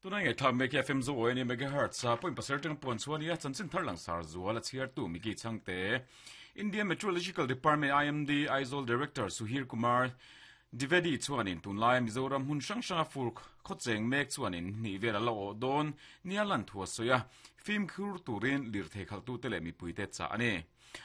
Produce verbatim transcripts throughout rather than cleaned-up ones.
Tuna nge thla me F M zo oi ni megahertz sa point pasar tang pon chuania chanchin thar lang sar zuala chhiar tu miki changte Indian Meteorological Department I M D Aizawl Director Suhir Kumar Divedi chuanin tunlai Mizoram hun hrang hranga fur khawcheng mek chuanin ni vel ala aw dawn nialan thua soya film khur turin lirthei khaltu te leh mipui te cha ani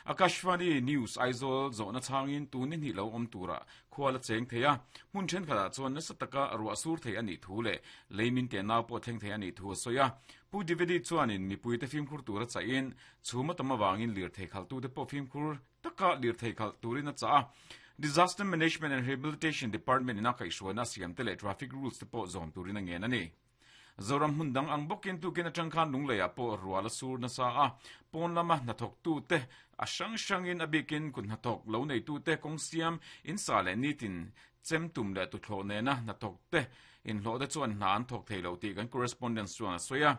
Akashvani News Aizawl zawhna changin tunin hi lo awm tura khuala cheng theia hmun then khala chuan nasa taka ruah sur thei ani thu le leimin te nau pawh thleng thei ani thu soya Pu Divedi chuanin mipui te film khur tura chain chhuma tama wangin lirthei khaltu te pawh film khur taka lirthei khal turin a cha Disaster Management and Rehabilitation Department ina kaihruaina siam te leh traffic rules te pawh zawm turin a ngen ani Zoram hun dang ang bawkin tukin atang khan lungleia pawh ruala sur nasa a pawn lama hnathawk tu te a hrang hrangin a bikin kun hnathawk lo nei tu te kawng siam in sa leh nitin chem tum leh tuthlawh nena hnathawk te inhlawh te chuan hna an thawk thei lo tih kan correspondence chuan a sawi a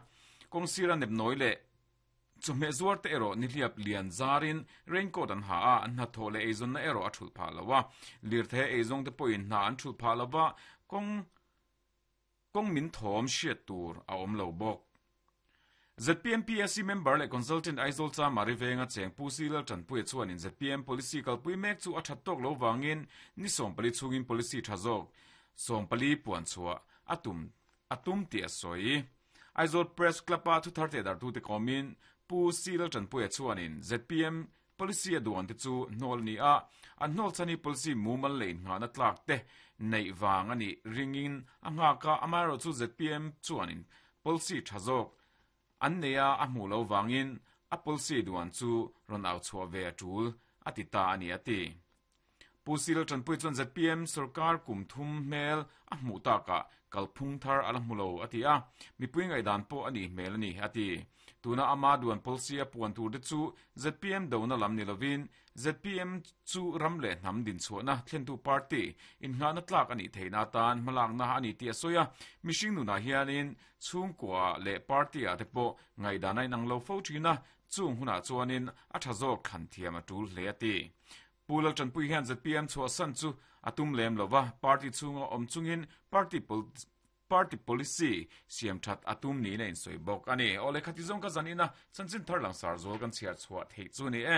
kawng sira nep nawi leh chawhmeh zuar te erawh nihliap lian zarin raincoat an ha a an hnathawh leh eizawnna erawh a thulh phah lo a lirthei eizawng te pawhin hna an thulh phah lova kawng kawng min thawm hriat tur a awm lo bawk Z P M P S C member leh consultant Aizawl cha Mari Venga cheng Pu Silal Tanpuia chuanin Z P M policy kalpui mek chu a that tawk lo wangin ni sawm pali chungin policy tha zawk sawm pali puan chhuah atum atum ti a sawi Aizawl Press Club a thu thar te dar tu te komin Pu Silal Tanpuia chuanin Z P M policy a duan te chu hnol ni a an hnol chani policy mumal lein nga na tlak te nei wang ani ringin a nga ka amaro chu Z P M chuanin policy tha zawk an neia a hmu lo wangin a policy duan chu ron au chhuah ve a tul ati ta ani ati Pu Silal Tanpui chuan Z P M sarkar kum thum hmel a hmu taka kalphung thar ala hmulo ati a mipui ngai dan pawh ani hmel ani ati tuna ama duan policy a puan tur te chu Z P M dona lam ni lovin Z P M chu ram leh hnam din chhuahna thlentu party in nga na tlak ani theina tan hmalak na ani ti a soya mihring nuna hianin chhungkua leh party a te pawh ngai danai nang lo fo thina chung huna chuanin a tha zawk khan thiam a tul hle ati Pu Lal Tanpui hian Z P M chhuah san chu atum lem lova party chunga awm chungin party pol party policy siam that atum ni na in soi bawk ani ole khati zong ka zanina chanchin thar lang sar zol kan chhiar chhuah thei chu ni e